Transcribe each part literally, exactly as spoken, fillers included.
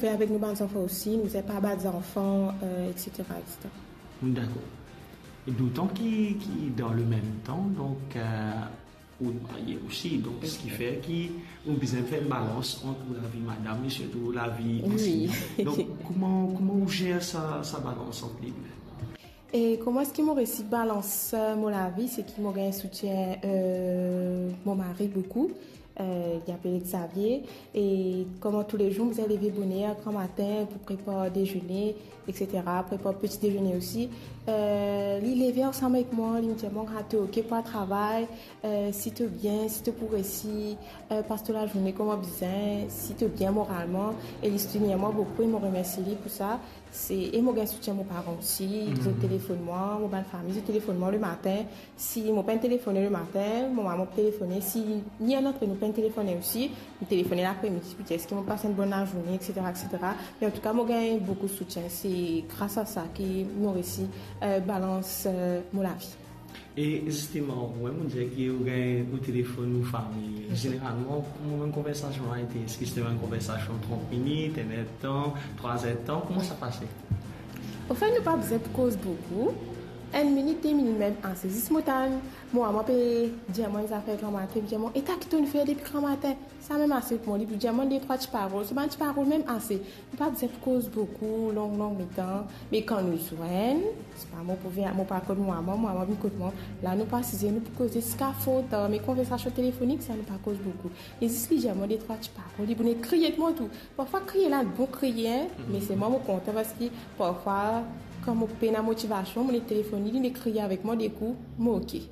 Fer avek nou bann zanfan osi, nou bizin pa bat zanfan, euh, et cetera, et cetera. Dakor. E dotan ki, ki dan le mem tan, donk, euh, ou marye osi, donk, seki fer ki ou bizin fer enn balans ant ou lavi madam e sirtou lavi anseyan. Donk, kouma, kouma ou zer sa, sa balans ant li? E kouma eski mo resi balans, euh, mo lavi, seki mo gagn soutien, euh, mo mari boukou, euh, li apel Xavier, e kouma toulezour, mo bizin leve boner, gran matin, pou prepar dezene, et cetera, prepar peti dezene osi. Euh, li leve ansam avek mwa, li dir mwa, "Ah, to ok pou al travay, euh, si to bien, si to pou resi, euh, pas to lazourne kouma bizin, si to bien moralman." E li soutenir mwa boukou, e mo remersie li pou sa. Se, e mo gagn soutien mo paran osi, zot telefonn mwa, mo bann fami, zot telefonn mwa le matin. Si mo pa'nn telefone le matin, mo mama pe telefone. Si ni enn antre nou pa'nn telefone osi, nou telefone lapremidi, pou dir eski mo pas enn bonn lazourne, et cetera, et cetera. Me antouka, mo gagn boukou soutien. Se gras a sa ki mo resi, euh, balans, euh, mo lavi. E zisteman, mwa, mo dir ki ou gagn ou telefonn ou fami. Zeneralman, kouma konversasion la ete? Eski se enn konversasion trant minit, enn er tan, trwa er tan? Kouma sa pase? Anfet, nou pa bizin pou koz boukou. Enn minit, de minit mem ase. Zis mo tann mo mama pe dir mwa enn zafer gran matin, pe dir mwa, "E ta ki to'nn fer depi gran matin?" Sa mem ase pou mwa, li pou dir mwa de trwa ti parol. Se bann ti parol mem ase. Nou pa bizin pou koz boukou, long, long letan. Me kan nou zwenn, sepa mo pou vinn, mo pou al kot mo mama, mo mama vinn kot mwa. La nou pe asize, nou pou koze ziska for tar, me konversasion telefonik sa, nou pa koz boukou. E zis li dir mwa de trwa ti parol, li pou nek kriye mwa tou. Parfwa kriye la, bon kriye, me selman mo kontan parski parfwa, kan mo pena motivasion, mo nek telefonn li, li nek kriye avek mwa, de kou, mo ok.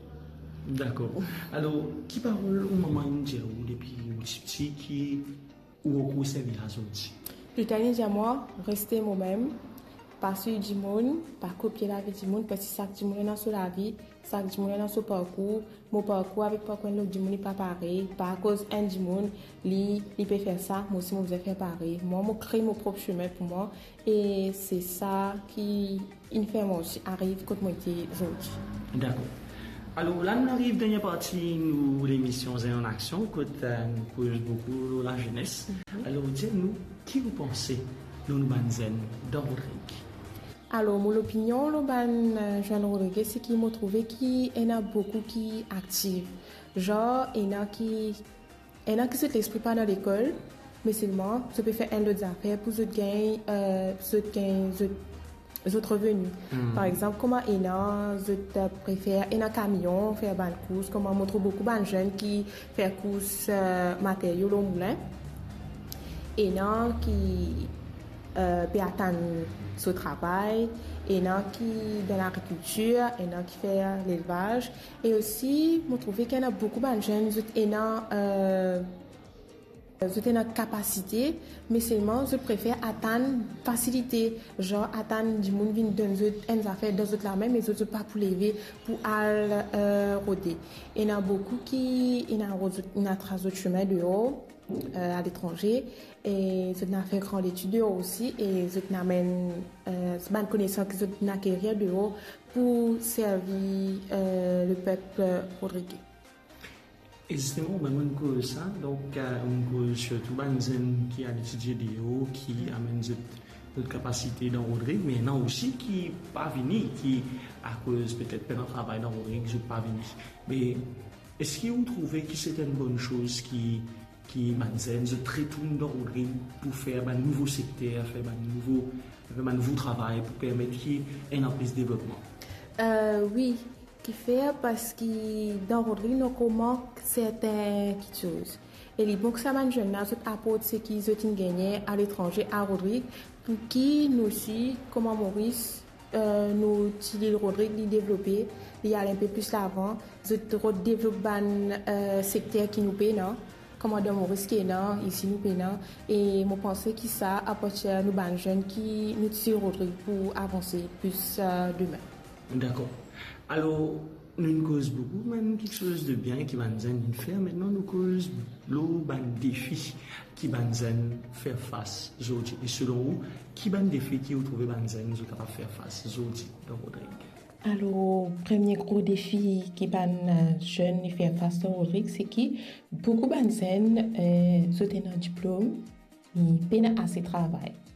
Dakor. Alor, ki parol ou mama inn dir ou depi ou ti piti ki ou ankor servi azordi? Li tann dir mwa, reste mo mem, pa swiv dimoun, pa kopie lavi dimoun, parski sak dimoun ena so lavi, sak dimoun ena so parkour, mo parkour avek parkour enn lot dimoun li pa parey, pa akoz enn dimoun, li, li pe fer sa, mwa osi mo bizin fer parey. Mwa, mo kree mo prop semin pou mwa, e se sa ki inn fer mwa osi ariv kot mo ete zordi. Dakor. Alor, la nou ariv dernie parti nou lemision Zenn an Aksion, kot, eh, nou koz boukou lor lazenes. Mhm. Alor, dir nou, ki ou panse lor nou bann zenn dan Rodrig? Alor, mo lopinion lor bann, eh, zenn Rodrig, se ki mo trouve ki ena boukou ki aktiv. Zan, ena ki Ena ki zot lespri pa dan lekol, me selman zot pe fer enn lot zafer pou zot gagn, eh, zot gagn zot, zot reveni. Hmm. Par exanp, kouma ena, zot, eh, prefer ena kamion, fer bann kours, kouma mo trouv boukou bann zenn ki fer kours, eh, materio lor moulin. Ena ki, eh, pe atann so travay, ena ki dan lagrikiltir, ena ki fer lelvaz. E osi, mo trouve ki ena boukou bann zenn, zot ena, eh, zot ena kapasite, me selman zot prefer atann fasilite, zan atann dimoun vinn donn zot enn zafer dan zot lame, me zot, zot pa pou leve pou al, eh, rode. Ena boukou ki ena rod zot, ena tras zot semin deor, eh, aletranze, e zot ena fer gran letid deor osi, e zot ena amenn, eh, bann konesans ki zot ena akerir deor pou servi, eh, lepep, eh, rodrigez. E zisteman, ben, mo'nn koz sa, donk, eh, mo'nn koz sirtou bann zenn ki al etidie deor, ki amenn zot, zot kapasite dan Rodrig, me ena osi ki pa vini, ki akoz petet pena travay dan Rodrig, zot pa vini. Me eski ou trouve ki se enn bonn soz ki, ki bann zenn, zot retourn dan Rodrig pou fer bann nouvo sekter, fer bann nouvo, fer bann nouvo travay pou permet ki ena plis devlopman? Eh, wi, kifer, parski dan Rodrig nou ankor mank sertin kiksoz. E li bon ki sa bann zenn la, zot aport seki zot inn gagne aletranze a Rodrig, pou ki nou osi, kouma Moris, eh, nou ti lil Rodrig, li devlope, li al enpe plis lavan, zot rod devlop bann, eh, sekter ki nou pena, kouma dan Moris ki ena, isi nou pena, e mo panse ki sa aporte nou bann zenn ki nou ti lil Rodrig pou avanse plis, eh, demin. Dakor. Alor, nou'nn koz boukou bann kiksoz de bien ki bann zenn inn fer. Aster nou koz lor bann defi ki bann zenn fer fas zordi. E selon ou, ki bann defi ki ou trouve bann zenn zot kapav fer fas zordi dan Rodrig? Alor, premie gro defi ki bann, eh, zenn inn fer fas dan Rodrig, seki boukou bann zenn, eh, zot ena diplom, Li pena ase travay.